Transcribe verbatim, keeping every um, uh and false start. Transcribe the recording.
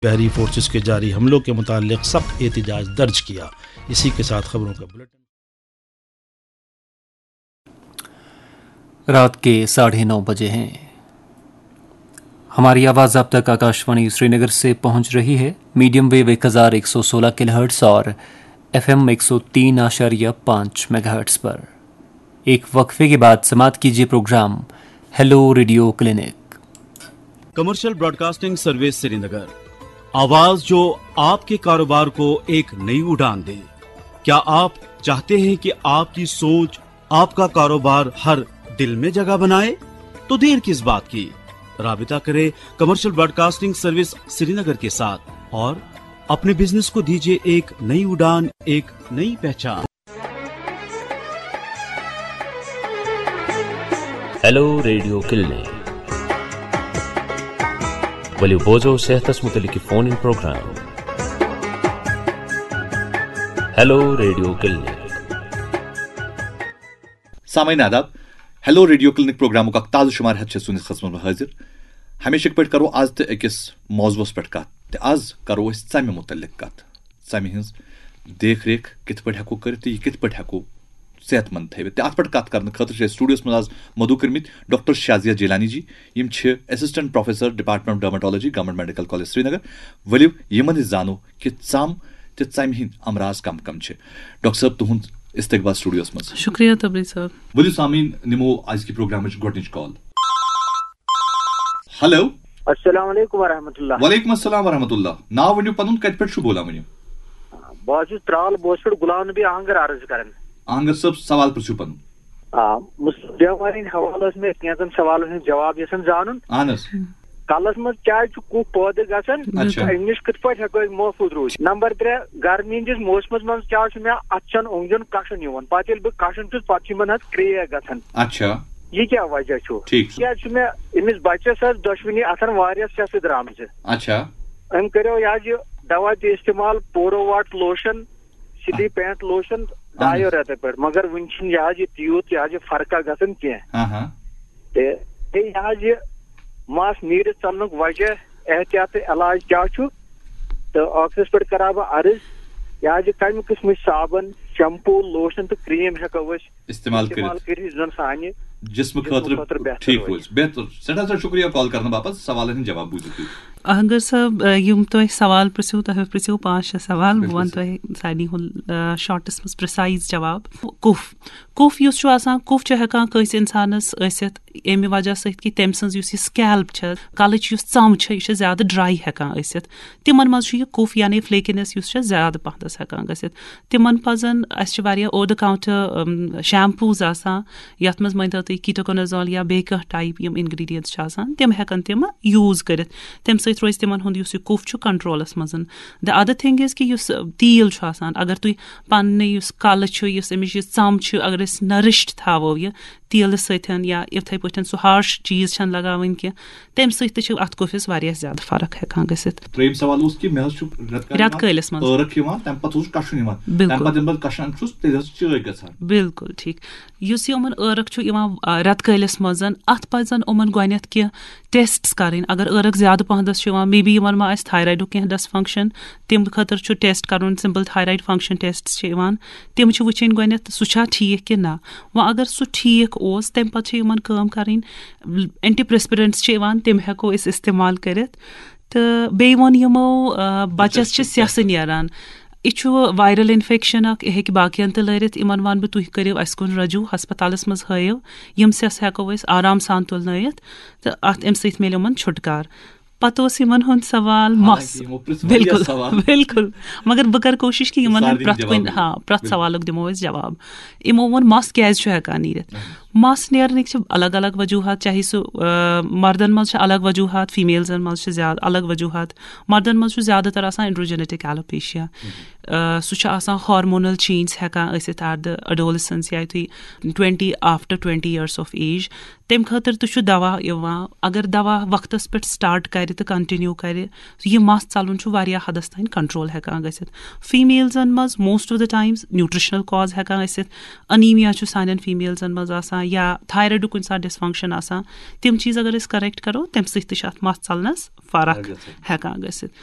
بحری فورسز کے جاری حملوں کے متعلق سخت احتجاج درج کیا۔ اسی کے ساتھ خبروں کا بلیٹن۔ رات کے ساڑھے نو بجے ہیں۔ ہماری آواز آپ تک آکاشوانی سری نگر سے پہنچ رہی ہے، میڈیم ویو ایک ہزار ایک سو سولہ کلو ہرٹز اور ایف ایم ایک سو تین آشاریہ پانچ میگا ہرٹز پر۔ ایک وقفے کے بعد سماعت کیجیے program hello radio clinic. Commercial broadcasting service Srinagar, آواز جو آپ کے کاروبار کو ایک نئی اڑان دے۔ کیا آپ چاہتے ہیں کہ آپ کی سوچ آپ کا کاروبار ہر دل میں جگہ بنائے؟ تو دیر کس بات کی؟ رابطہ کرے کمرشل براڈکاسٹنگ سروس سری نگر کے ساتھ اور اپنے بزنس کو دیجیے ایک نئی اڑان، ایک نئی پہچان۔ Hello radio clinic. ؤلِو بوزو صحتس متعلق فون ان پروگرام۔ Hello radio clinic. سامعین آداب، ہیلو ریڈیو کلینک پروگرامُک اکھ تازٕ شمارٕ ہٮ۪تھ چھِ سٲنِس خدمتس منٛز حٲضِر۔ ہمیشہٕ پٲٹھۍ کرو آز تہِ أکِس موضوعس پٮ۪ٹھ کتھ، تہٕ آز کرو أسۍ ژمہِ متعلق کتھ۔ ژمہِ ہٕنٛز دیکھ ریکھ کِتھ پٲٹھۍ ہٮ۪کو کٔرِتھ تہٕ یہِ کِتھ پٲٹھۍ ہٮ۪کو صحت مند تھٲوِتھ۔ تہٕ اتھ پٮ۪ٹھ کتھ کرنہٕ خٲطرٕ چھِ أسۍ studio-ہس منٛز آز مدعو کٔرمٕتۍ ڈاکٹر شازیہ جیلانی جی۔ یِم چھِ assistant professor department of dermatology، government medical college Srinagar. ؤلِو یِمن نِش زانو کہِ ژم تہٕ ژمہِ ہٕنٛدۍ امراض کم کم چھِ۔ ڈاکٹر صٲب، تُہُنٛد استقبال studio-ہس منٛز۔ شُکریہ تبریز صٲب۔ ؤلِو سامعیٖن، نِمو أزکہِ پروگرامٕچ گۄڈٕنِچ call۔ ہیلو۔ السلام علیکم ورحمۃ اللہ۔ وعلیکم السلام ورحمۃ اللہ۔ ناو ؤنِو پنُن، کتہِ پٮ۪ٹھ چھُو بولان ؤنِو؟ بہٕ حظ چھُس ترال بوس پٮ۪ٹھ غلام نبی آہنگر عرض کران۔ آہنگر صٲب، سوال پرٛژھِو پنُن۔ آ، مُس-، بیمارِ ہٕنٛدۍ حوالہٕ ٲس مےٚ کینٛژن سوالن ہُنٛد جواب یژھان زانُن۔ اہن حظ۔ کلس منٛز کیازِ چھُ کُف پٲدٕ گژھان؟ اچھا۔ تہٕ امہِ نِش کِتھ پٲٹھۍ ہٮ۪کو أسۍ محفوٗظ روٗزِتھ؟ نمبر ترٛےٚ، گرمی ہٕنٛدِس موسمس منٛز کیازِ چھُ مےٚ اتھٕ چن اوٚنٛگجن کشُن یِوان؟ پتہٕ ییٚلہِ بہٕ کشُن چھُس، پتہٕ چھُ یِمن حظ crack گژھان۔ اچھا۔ یہِ کیٛاہ وجہ چھُ؟ ٹھیٖک چھُ۔ کیٛازِ چھُ مےٚ أمِس بچس حظ دۄشوٕنی اتھن واریاہ سٮ۪سہٕ درامژٕ۔ اچھا۔ أمۍ کٔرِو یہِ حظ یہِ دوا تہِ استعمال، پورو واٹ لوشن، سِٹی پینٹ لوشن، اہن حظ۔ دۄیو رٮ۪تو پٮ۪ٹھ، مگر وُنہِ چھُنہٕ یہِ حظ یہِ تیوٗت یہِ حظ یہِ فرقہ گژھان کینٛہہ۔ ہاں، ہاں۔ تہٕ بیٚیہِ یہِ حظ یہِ مس نیٖرِتھ ژلنُک وجہ، احتیاط تہٕ علاج کیٛاہ چھُ؟ تہٕ ٲخرس پٮ۪ٹھ کرٕ ہا بہٕ عرض، یہِ حظ یہِ کمہِ قٕسمٕچ صابن، شیمپو، لوشن تہٕ کریم ہٮ۪کو أسۍ استعمال استعمال کٔرِتھ۔ کٔرِتھ یُس زن سانہِ جسمہٕ جسمہٕ خٲطرٕ خٲطرٕ بہتر ٹھیٖک روزِ۔ روزِ۔ بہتر۔ سٮ۪ٹھاہ سٮ۪ٹھاہ شُکریہ call کرنہٕ باپتھ۔ سوالن ہٕنٛدۍ جواب بوٗزِو تُہۍ۔ اہنگر صٲب، آ، یِم تۄہہِ سوال پرٛژھِو، تۄہہِ پرٛژھِو پانٛژھ شےٚ سوال، بہٕ بِلکُل وَنہٕ صحیح۔ تۄہہِ سارنٕے ہُنٛد، آ، shortس منٛز precise جواب۔ کُف، کُف یُس چھُ آسان، کُف چھُ ہٮ۪کان کٲنٛسہِ اِنسانَس ٲسِتھ اَمہِ وجہ سۭتۍ کہِ تٔمۍ سٕنٛز یُس یہِ scalp چھےٚ، کَلٕچ یُس ژَم چھےٚ، یہِ چھےٚ زیادٕ dry ہٮ۪کان ٲسِتھ۔ تِمَن منٛز چھُ یہِ کُف یعنی flakiness یُس چھےٚ زیادٕ پَہنَس ہٮ۪کان گٔژھِتھ۔ تِمَن پَزَن، اَسہِ چھِ واریاہ over the counter، اَم، shampoos آسان، یَتھ منٛز مٲنۍ تو تُہۍ ketoconazole یا بیٚیہِ کانٛہہ type یِم ingredients چھِ آسان، تِم ہٮ۪کَن تِم use کٔرِتھ۔ تَمہِ سۭتۍ روزِ تِمَن ہُنٛد یُس یہِ کُف چھُ controlس منٛز۔ The other thing is کہِ یُس تیٖل چھُ آسان، اگر تُہۍ پَننُے یُس کَلہٕ چھُ، یُس اَمِچ یہِ ژَم چھِ، اگر أسۍ nourished تھاوو یہِ تیٖلہٕ سۭتۍ یا یِتھَے پٲٹھۍ سُہ harsh چیٖز چھَنہٕ لگاوٕنۍ کینٛہہ، تَمہِ سۭتۍ تہِ چھِ اَتھ کُفِس واریاہ زیادٕ فرق ہٮ۪کان گٔژھِتھ۔ ترٛیٚیِم سوال اوس کہِ مےٚ حظ چھُ رٮ۪تہٕ کالہِ رٮ۪تہٕ یِوان کٲلِس منٛز۔ ٲرَکھ یِوان، تَمہِ پَتہٕ اوسُس کَشُن یِوان۔ بِلکُل۔ تَمہِ پَتہٕ ییٚلہِ بہٕ کَشان چھُس، تیٚلہِ حظ چھِ چٲے گژھان۔ بِلکُل ٹھیٖک۔ یُس یِمَن ٲرَکھ چھُ یِوان، آ، رٮ۪تہٕ کٲلِس منٛز، اَتھ پَزَن یِمَن گۄڈٕنٮ۪تھ کینٛہہ tests کَرٕنۍ۔ اگر ٲرَکھ زیادٕ پَہَنَس چھِ یِوان، maybe یِمَن ما آسہِ thyroidُک کینٛہہ dysfunction، تَمہِ خٲطرٕ چھُ test کَرُن، simple thyroid function tests چھِ یِوان، تِم چھِ وٕچھِنۍ گۄڈٕنٮ۪تھ سُہ چھا ٹھیٖک کِنہٕ نہ۔ وۄنۍ اگر سُہ ٹھیٖک اوس، تَمہِ پَتہٕ چھِ یِمَن کٲم کَرٕنۍ، antiperspirants چھِ یِوان، تِم ہٮ۪کو أسۍ استعمال کٔرِتھ۔ تہٕ بیٚیہِ ووٚن یِمو، آ، بَچَس چھِ سٮ۪سہٕ نیران۔ یہِ چھُ viral infection اَکھ، یہِ ہیٚکہِ باقیَن تہِ لٲرِتھ۔ یِمَن وَنہٕ بہٕ، تُہۍ کٔرِو اَسہِ کُن رجوع، ہسپتالَس منٛز ہٲیِو۔ یِم سٮ۪سہٕ ہٮ۪کو أسۍ آرام سان تُلنٲیِتھ تہٕ اَتھ، اَمہِ سۭتۍ میلہِ یِمَن چھُٹکار۔ پَتہٕ اوس یِمَن ہُنٛد سوال مَس۔ حالانکہِ یِمو پرٛژھ واریاہ بِلکُل، سوال۔ بِلکُل۔ مگر بہٕ کَرٕ کوٗشِش کہِ یِمَن ہُنٛد سارنٕے پرٛٮ۪تھ جواب کُنہِ، دِمو۔ ہاں، پرٛٮ۪تھ بِلکُل۔ سوالُک دِمو أسۍ جواب۔ یِمو ووٚن مَس کیٛازِ چھُ ہٮ۪کان نیٖرِتھ۔ مَس نیرنٕکۍ چھِ الگ الگ وجوٗہات، چاہے سُہ، آ، مردن منٛز چھِ الگ وجوٗہات، females-ن منٛز چھِ زیادٕ الگ وجوٗہات۔ مردن منٛز چھُ زیادٕ تر آسان androgenetic alopecia۔ آ، سُہ چھُ آسان hormonal change ہٮ۪کان ٲسِتھ at the adolescence یا یُتھُے twenty، after twenty years of age۔ تَمہِ خٲطرٕ تہِ چھُ دوا یِوان۔ اگر دوا وقتس پٮ۪ٹھ start کرِ تہٕ continue کرِ، یہِ مَس ژَلُن چھُ واریاہ حدس تام control ہٮ۪کان گٔژھِتھ۔ Females-ن منٛز most of the times nutritional cause ہٮ۪کان ٲسِتھ۔ Anemia چھُ سانٮ۪ن females-ن منٛز آسان یا thyroid-ُک کُنہِ ساتہٕ dysfunction آسان۔ تِم چیٖز اگر أسۍ correct کرو، تَمہِ سۭتۍ تہِ چھِ اَتھ مَس ژَلنَس فرق فرق گژھان۔ ہٮ۪کان گٔژھِتھ۔